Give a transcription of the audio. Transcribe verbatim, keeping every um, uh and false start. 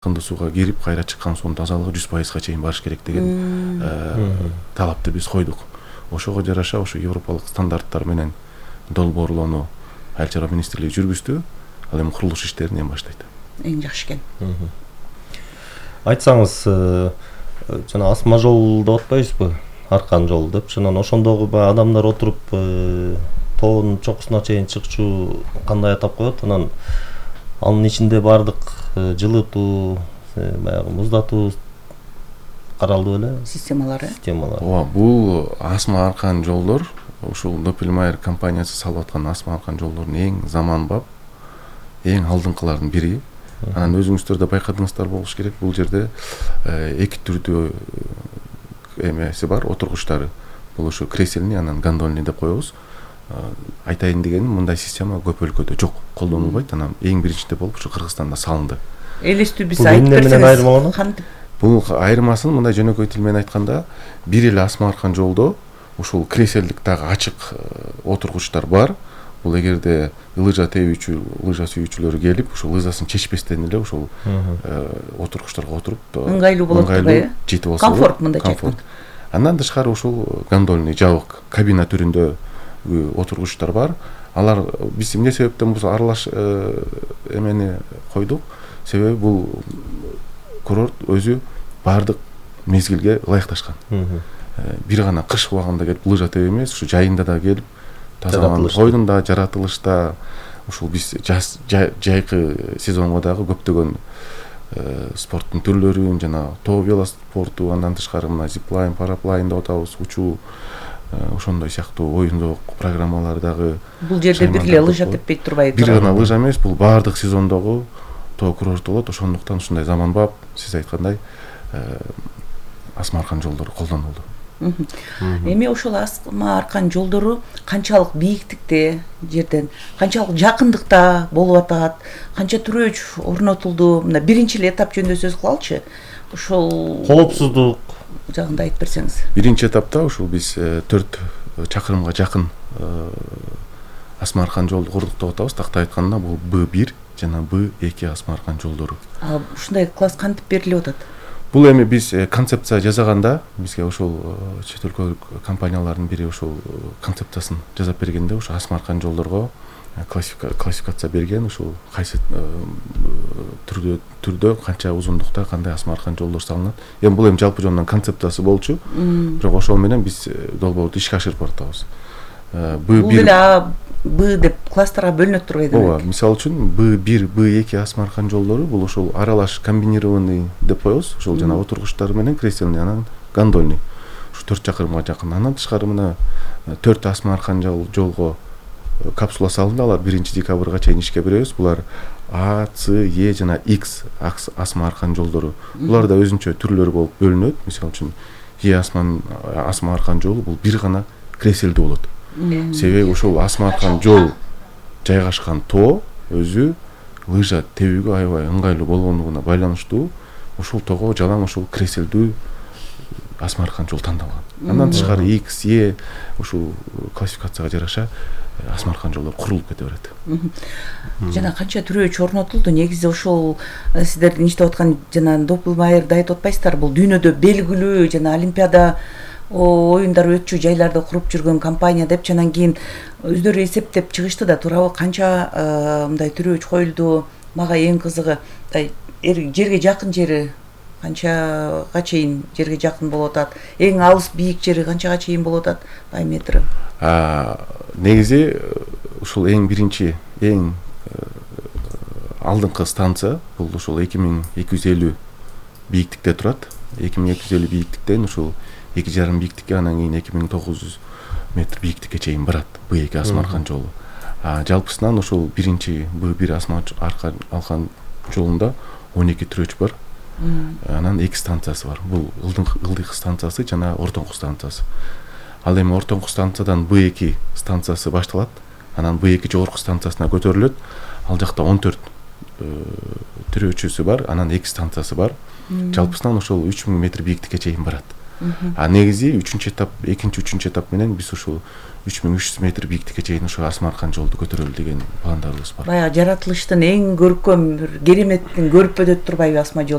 кынды сууга кирип кайра чыккан суунун тазалыгы жүз пайызга чейин барыш керек деген талапты биз койдук. Ошого жараша ошо европалык стандарттар менен долбоорлоону Айыл чарба министрлиги жүргүздү. Ал эми курулуш иштерин эми баштайт. Эң жакшы экен. Айтсаңыз, жана асма жол деп атпайбызбы? Аркан жол деп. Жана ошондогу баягы адамдар отуруп тоонун чокусуна чейин чыкчу кандай атап коет? Анан анын ичинде бардык жылытуу, баягы муздатуу каралды беле? Системалары. Системалары. Ооба, бул асма аркан жолдор ушул Doppelmayr компаниясы салып аткан асма аркан жолдордун эң заманбап, эң алдыңкылардын бири. Анан өзүңүздөр да байкадыңыздар болуш керек. Бул жерде эки түрдүү эмеси бар, отургучтары. Бул ошо кресельный, анан гондольный деп коебуз. Айтайын дегеним, мындай система көп өлкөдө жок, колдонулбайт. Анан эң биринчиде болуп ушу Кыргызстанда салынды. Элестүү биз айтып берсеңиз. Кантип? Бул айырмасын мындай жөнөкөй тил менен айтканда, бир эле асма аркан жолдо ушул креселдик дагы ачык отургучтар бар. Бул эгерде лыжа тебүүчү, лыжа сүйүүчүлөр келип, ушул лыжасын чечпестен эле ушул отургучтарга отуруп ыңгайлуу болот турбайбы? Жетип алса, комфорт мындай айтканда. Андан тышкары ушул гондольный жабык кабина түрүндө отургучтар бар. Алар биз эмне себептен бул аралаш эмени койдук? Себеби бул курорт өзү бардык мезгилге ылайыкташкан. Бир гана кыш убагында келип лыжа теб эмес, ушу жайында да келип тазаланып, койдунда, жаратылышта ушул биз жайкы сезонго дагы көптөгөн спорттун түрлөрүн, жана тоо велоспорту, андан тышкары мына зиплайн, параплайн деп атабыз, учуу, ошондой сыяктуу оюндук программалар дагы. Бул жерде бир эле лыжа теппейт турбайбы? Бир гана лыжа эмес, бул бардык сезондогу тоо курорт болот. Ошондуктан ушундай заманбап, сиз айткандай, асма аркан жолдору колдонулду. Эми ошол асма аркан жолдору канчалык бийиктикте жерден, канчалык жакындыкта болуп атат, канча түрөөч орнотулду? Мына биринчи эле этап жөнүндө сөз кылалычы. Ошол коопсуздук жагында айтып берсеңиз. Биринчи этапта ушул биз төрт чакырымга жакын асма аркан жолду курдук деп атабыз. Такта айтканда бул Б бир жана Б эки асма аркан жолдору. А ушундай класс кантип берилип атат? Бул эми биз концепция жасаганда, бизге ошол чет өлкөлүк компаниялардын бири ошол концепциясын жасап бергенде, ошо асма аркан жолдорго классификация берген, ушул кайсы түрдө түрдө канча узундукта кандай асма аркан жолдор салынат. Эми бул эми жалпы жонунан концепциясы болчу. Бирок ошол менен биз долбоорду ишке ашырып баратабыз. Б бир Б деп класстарга бөлүнөт турбайбы? Ооба, мисалы үчүн Б бир, Б эки асма аркан жолдору бул ошол аралаш комбинированный деп коебуз. Ошол жана отургучтар менен кресельный, анан гондольный. Ушу төрт чакырымга жакын. Андан тышкары мына төрт асма аркан жолго капсула салынды. Алар биринчи декабрга чейин ишке беребиз. Булар А, С, Е жана X асма аркан жолдору. Булар да өзүнчө түрлөрү болуп бөлүнөт. Мисалы үчүн Е асма аркан жолу бул бир гана креселдүү болот. Себеби ошол асма аркан жол жайгашкан тоо өзү лыжа тебүүгө аябай ыңгайлуу болгондугуна байланыштуу ошол тоого жалаң ошол креселдүү асма аркан жол тандалган. Андан тышкары X, E ушул классификацияга жараша асма аркан жолдор курулуп кете берет. Жана канча түрөөч орнотулду? Негизи ошол сиздердин иштеп аткан жана Doppelmayr айтып атпайсыздар, бул дүйнөдө белгилүү жана олимпиада оюндар өтчү жайларды куруп жүргөн компания деп, анан кийин өздөрү эсептеп чыгышты да, туурабы? Канча мындай түрөөч коюлду? Мага эң кызыгы жерге жакын жери канчага чейин жерге жакын болуп атат? Эң алыс бийик жери канчага чейин болуп атат? Диаметри? Негизи ушул эң биринчи, эң алдыңкы станция бул ушул эки миң эки жүз элүү бийиктикте турат. эки миң эки жүз элүү бийиктиктен ушул эки жарым бийиктикке, анан кийин эки миң тогуз жүз метр бийиктикке чейин барат Б эки асма аркан жолу. Жалпысынан ушул биринчи Б бир асма аркан жолунда он эки түрөөч бар. Анан эки станциясы бар. Бул ылдыйкы станциясы жана ортоңку станциясы. Ал эми ортоңку станциядан Б эки станциясы башталат. Анан Б эки жогорку станциясына көтөрүлөт. Ал жакта он төрт түрөөчүсү бар, анан эки станциясы бар. Жалпысынан ошол үч миң метр бийиктикке чейин барат. А негизи үчүнчү этап экинчи үчүнчү этап менен биз ушул үч миң үч жүз метр бийиктикке чейин ошо Асма Аркан жолду көтөрөлү деген пландарыбыз бар. Баягы жаратылыштын эң көркөм бир кереметтин көрпөдө турбайбы Асма жол?